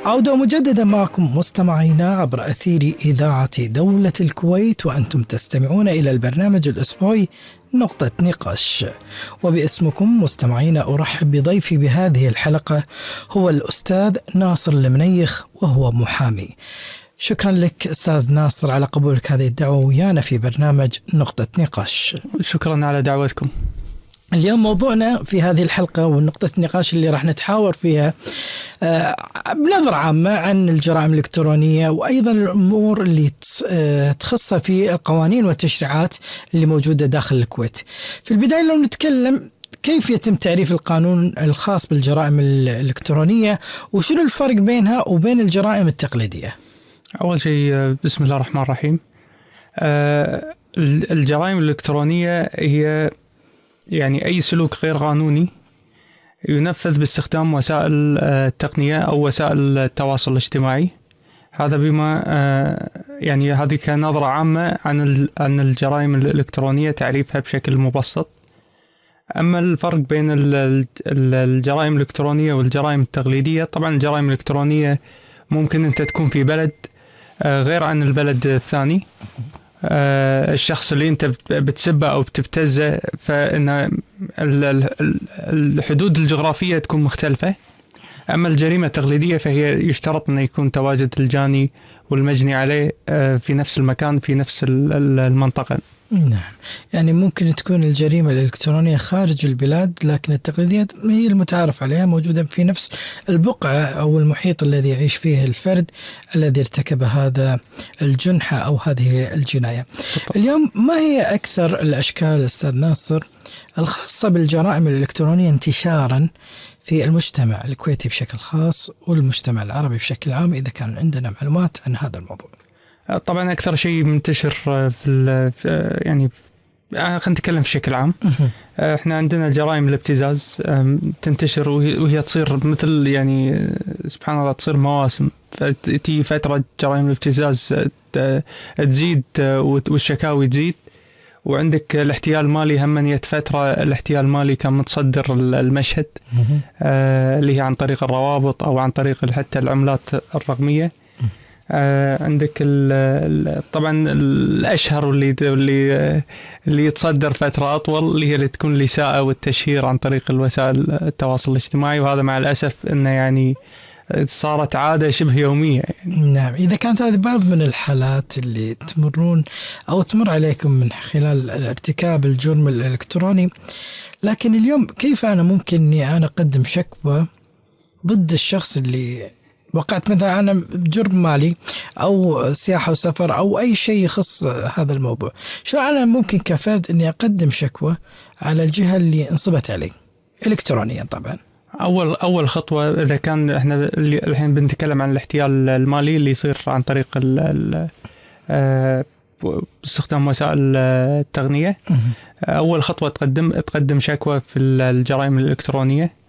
عودة مجددا معكم مستمعينا عبر أثير إذاعة دولة الكويت، وأنتم تستمعون إلى البرنامج الأسبوعي نقطة نقاش. وباسمكم مستمعينا أرحب بضيفي بهذه الحلقة هو الأستاذ ناصر المنيخ، وهو محامي. شكرا لك أستاذ ناصر على قبولك هذه الدعوة ويانا في برنامج نقطة نقاش. شكرا على دعوتكم. اليوم موضوعنا في هذه الحلقة والنقطة النقاش اللي راح نتحاور فيها بنظرة عامة عن الجرائم الإلكترونية، وأيضا الأمور اللي تخص في القوانين والتشريعات اللي موجودة داخل الكويت. في البداية لو نتكلم كيف يتم تعريف القانون الخاص بالجرائم الإلكترونية، وشنو الفرق بينها وبين الجرائم التقليدية؟ أول شيء بسم الله الرحمن الرحيم. الجرائم الإلكترونية هي يعني أي سلوك غير قانوني ينفذ باستخدام وسائل التقنية أو وسائل التواصل الاجتماعي. هذا بما يعني هذه كنظرة عامة عن الجرائم الإلكترونية، تعريفها بشكل مبسط. أما الفرق بين الجرائم الإلكترونية والجرائم التقليدية، طبعا الجرائم الإلكترونية ممكن أنت تكون في بلد غير عن البلد الثاني، الشخص اللي انت بتسبه او بتبتزه، فإن الحدود الجغرافية تكون مختلفة. اما الجريمة التقليدية فهي يشترط ان يكون تواجد الجاني والمجني عليه في نفس المكان في نفس المنطقة. نعم، يعني ممكن تكون الجريمة الإلكترونية خارج البلاد، لكن التقليدية هي المتعارف عليها موجودة في نفس البقعة أو المحيط الذي يعيش فيه الفرد الذي ارتكب هذا الجنحة أو هذه الجناية. اليوم ما هي أكثر الأشكال أستاذ ناصر الخاصة بالجرائم الإلكترونية انتشارا في المجتمع الكويتي بشكل خاص والمجتمع العربي بشكل عام، إذا كان عندنا معلومات عن هذا الموضوع؟ طبعا أكثر شيء منتشر في يعني خلينا نتكلم بشكل عام. احنا عندنا جرائم الابتزاز تنتشر وهي تصير مثل يعني سبحان الله تصير مواسم، فتأتي فترة جرائم الابتزاز تزيد والشكاوي تزيد. وعندك الاحتيال المالي، هم فترة الاحتيال المالي كان متصدر المشهد، اللي هي عن طريق الروابط أو عن طريق حتى العملات الرقمية. عندك طبعا الأشهر اللي يتصدر فترة أطول اللي هي اللي تكون الإساءة والتشهير عن طريق الوسائل التواصل الاجتماعي، وهذا مع الأسف إنه يعني صارت عادة شبه يومية يعني. نعم، إذا كانت هذه بعض من الحالات اللي تمرون أو تمر عليكم من خلال ارتكاب الجرم الإلكتروني، لكن اليوم كيف أنا ممكن إني أنا أقدم شكوى ضد الشخص اللي وقعت مثلا أنا بجرم مالي أو سياحة وسفر أو أي شيء يخص هذا الموضوع؟ شو أنا ممكن كفرد إني أقدم شكوى على الجهة اللي انصبت علي إلكترونيا؟ طبعا أول خطوة إذا كان إحنا الحين بنتكلم عن الاحتيال المالي اللي يصير عن طريق باستخدام وسائل التقنية، أول خطوة تقدم شكوى في الجرائم الإلكترونية.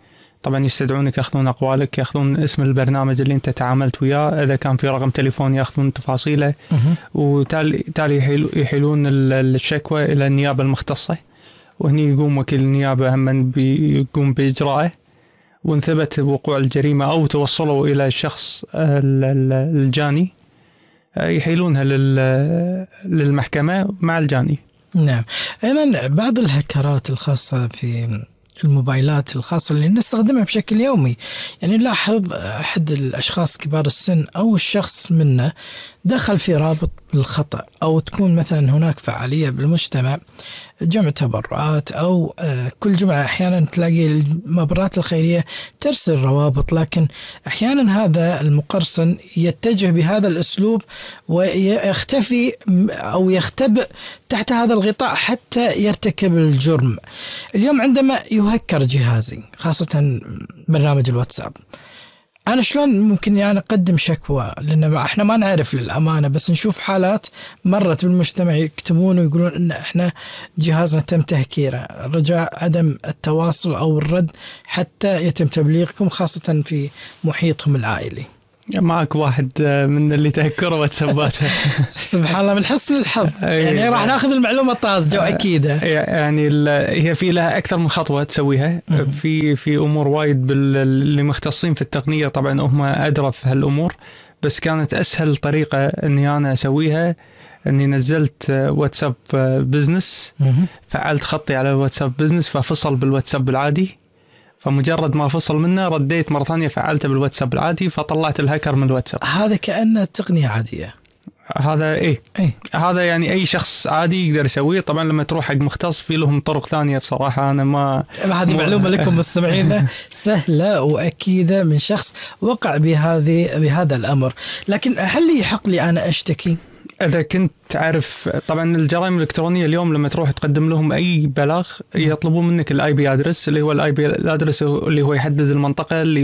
طبعا يستدعونك، يأخذون أقوالك، يأخذون اسم البرنامج اللي أنت تعاملت وياه، إذا كان في رقم تليفون يأخذون تفاصيله، وتالي يحيلون الشكوى إلى النيابة المختصة، وهني يقوم وكيل النيابة هم بيقوم بإجراءه. وإن ثبت وقوع الجريمة أو توصلوا إلى الشخص الجاني يحيلونها للمحكمة مع الجاني. نعم، أيضا بعض الهكرات الخاصة في الموبايلات الخاصة اللي نستخدمها بشكل يومي، يعني نلاحظ أحد الأشخاص كبار السن أو الشخص منا دخل في رابط بالخطأ، أو تكون مثلا هناك فعالية بالمجتمع، جمع تبرعات أو كل جمعة أحيانا تلاقي المباريات الخيرية ترسل روابط، لكن أحيانا هذا المقرصن يتجه بهذا الأسلوب ويختفي أو يختبئ تحت هذا الغطاء حتى يرتكب الجرم. اليوم عندما يهكر جهازي خاصة برنامج الواتساب، أنا شلون ممكن يعني أقدم شكوى؟ لأن إحنا ما نعرف للأمانة، بس نشوف حالات مرت بالمجتمع يكتبون ويقولون إن إحنا جهازنا تم تهكيره، رجاء عدم التواصل أو الرد حتى يتم تبليغكم، خاصة في محيطهم العائلي. معك واحد من اللي تهكروا واتساباته. سبحان الله من حسن الحظ. يعني راح ناخذ المعلومة الطازجة وأكيدة. يعني هي في لها أكثر من خطوة تسويها. في أمور وايد اللي مختصين في التقنية طبعا هم أدرى في هالأمور، بس كانت أسهل طريقة إني أنا أسويها إني نزلت واتساب بزنس، فعلت خطي على الواتساب بزنس ففصل بالواتساب العادي، فمجرد ما فصل منه رديت مرة ثانية فعلته بالواتساب العادي فطلعت الهاكر من الواتساب. هذا كأنه تقنية عادية. هذا إيه؟ هذا يعني أي شخص عادي يقدر يسويه. طبعا لما تروح حق مختص في لهم طرق ثانية بصراحة أنا ما هذه معلومة لكم مستمعينا سهلة وأكيدة من شخص وقع بهذا الأمر. لكن هل يحق لي أنا أشتكي؟ إذا كنت تعرف طبعا الجرائم الإلكترونية اليوم لما تروح تقدم لهم أي بلاغ يطلبون منك الآي بي أدرس، اللي هو الآي بي أدرس اللي هو يحدد المنطقة اللي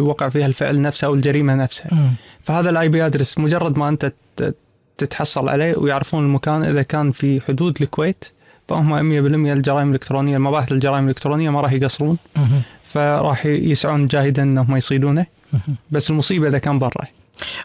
وقع فيها الفعل نفسه أو الجريمة نفسها. فهذا الآي بي أدرس مجرد ما أنت تتحصل عليه ويعرفون المكان إذا كان في حدود الكويت فهم 100% الجرائم الإلكترونية المباحث الجرائم الإلكترونية ما راح يقصرون، فراح يسعون جاهدا أنهم يصيدونه. بس المصيبة إذا كان برا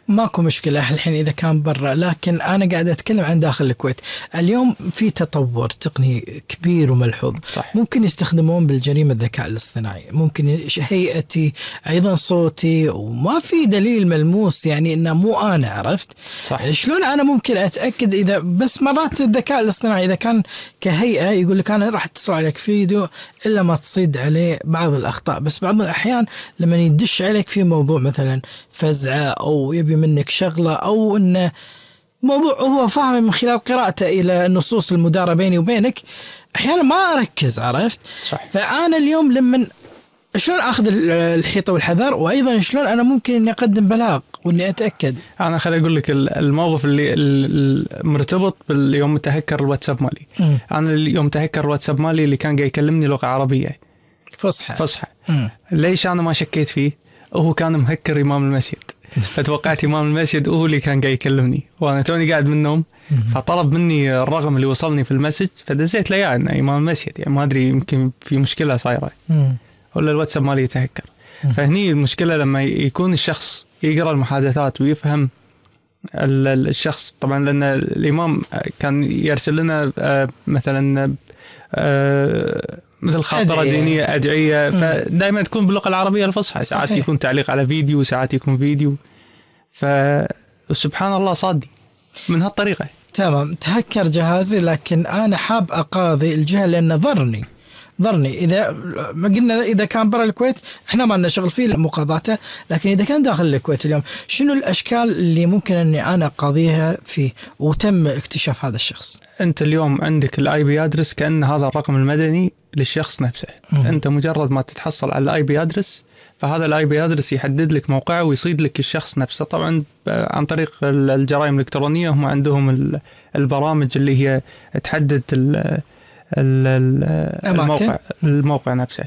ماكو مشكلة الحين إذا كان برا، لكن أنا قاعد أتكلم عن داخل الكويت. اليوم في تطور تقني كبير وملحوظ. صح. ممكن يستخدمون بالجريمة الذكاء الاصطناعي، ممكن هيئتي أيضا صوتي، وما في دليل ملموس يعني إنه مو أنا. عرفت؟ صح. شلون أنا ممكن أتأكد إذا بس مرات الذكاء الاصطناعي إذا كان كهيئة يقول لك أنا راح أتصل عليك فيديو إلا ما تصيد عليه بعض الأخطاء، بس بعض الأحيان لما يدش عليك في موضوع مثلا فزعة أو يبي منك شغلة أو إنه موضوع هو فاهم من خلال قراءته إلى النصوص المدارة بيني وبينك، أحيانا ما أركز. عرفت؟ صح. فأنا اليوم لما شلون أخذ الحيطة والحذر، وأيضا شلون أنا ممكن إني أقدم بلاغ وإني أتأكد. أنا خلي أقول لك الموقف اللي مرتبط باليوم تهكر الواتساب مالي. أنا اليوم تهكر الواتساب مالي اللي كان جاي يكلمني لغة عربية فصحى. ليش أنا ما شكيت فيه؟ وهو كان مهكر إمام المسجد، فتوقعت إمام المسجد هو اللي كان جاي يكلمني وأنا توني قاعد من النوم، فطلب مني الرقم اللي وصلني في المسج فدزيت له إياه إنه إمام المسجد، يعني ما أدري يمكن في مشكلة صايرة ولا الواتساب مالي يتهكر. فهني المشكلة لما يكون الشخص يقرأ المحادثات ويفهم الشخص. طبعا لأن الإمام كان يرسل لنا مثلا مثل خاطرة دينية أدعية فدائما تكون باللغة العربية الفصحى. ساعات يكون تعليق على فيديو ساعات يكون فيديو، فسبحان الله صادي من هالطريقة. تمام. تهكر جهازي لكن أنا حاب أقاضي الجهة لأنه ضرني. إذا ما قلنا إذا كان برا الكويت إحنا ما لنا شغل فيه مقاضاته، لكن إذا كان داخل الكويت اليوم شنو الأشكال اللي ممكن أني أنا أقاضيها فيه وتم اكتشاف هذا الشخص؟ أنت اليوم عندك الآي بي أدرس كأن هذا الرقم المدني للشخص نفسه. أنت مجرد ما تتحصل على الآي بي أدرس فهذا الآي بي أدرس يحدد لك موقعه ويصيد لك الشخص نفسه. طبعا عن طريق الجرائم الإلكترونية هم عندهم البرامج اللي هي تحدد الموقع نفسه.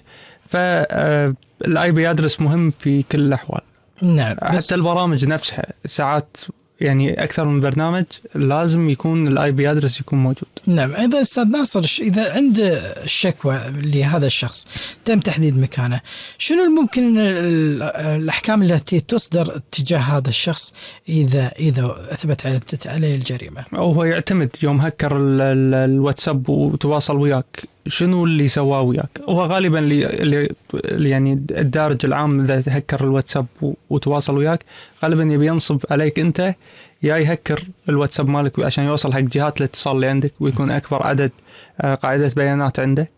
فالاي بي ادرس مهم في كل الاحوال. نعم. حتى البرامج نفسها ساعات يعني اكثر من برنامج لازم يكون الاي بي ادرس يكون موجود. نعم. ايضا استاذ ناصر اذا عند الشكوى لهذا الشخص تم تحديد مكانه، شنو ممكن الاحكام التي تصدر تجاه هذا الشخص اذا اثبت عليه الجريمه؟ هو يعتمد يوم هكر الواتساب وتواصل وياك شنو اللي سواه وياك. هو غالبا اللي يعني الدارج العام اذا هكر الواتساب وتواصل وياك غالبا يبي ينصب عليك انت يا يهكر الواتساب مالك عشان يوصل حق جهات الاتصال اللي عندك ويكون اكبر عدد قاعدة بيانات عنده،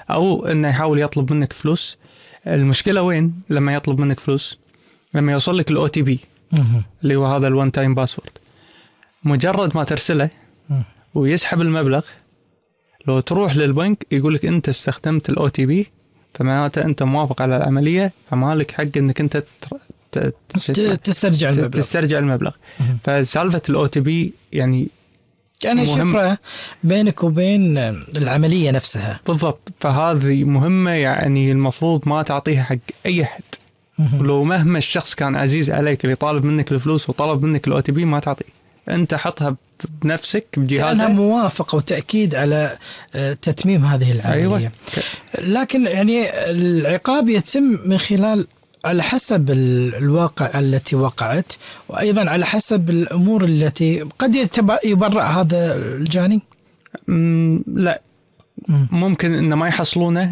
او انه يحاول يطلب منك فلوس. المشكلة وين لما يطلب منك فلوس؟ لما يوصل لك الاو تي بي اللي هو هذا الوان تايم باسورد، مجرد ما ترسله ويسحب المبلغ لو تروح للبنك يقول لك انت استخدمت الاو تي بي فمعناته انت موافق على العملية فمالك حق انك انت تسترجع المبلغ. فسالفة الاو تي بي يعني شفرة بينك وبين العملية نفسها. بالضبط. فهذه مهمة يعني المفروض ما تعطيها حق اي حد. ولو مهما الشخص كان عزيز عليك اللي طالب منك الفلوس وطلب منك الاو تي بي ما تعطيه، انت حطها بنفسك بجهازك كأنها موافقة وتأكيد على تتميم هذه العملية. أيوة. لكن يعني العقاب يتم من خلال على حسب الواقع التي وقعت، وأيضا على حسب الأمور التي قد يبرأ هذا الجاني. لا، ممكن إن ما يحصلونه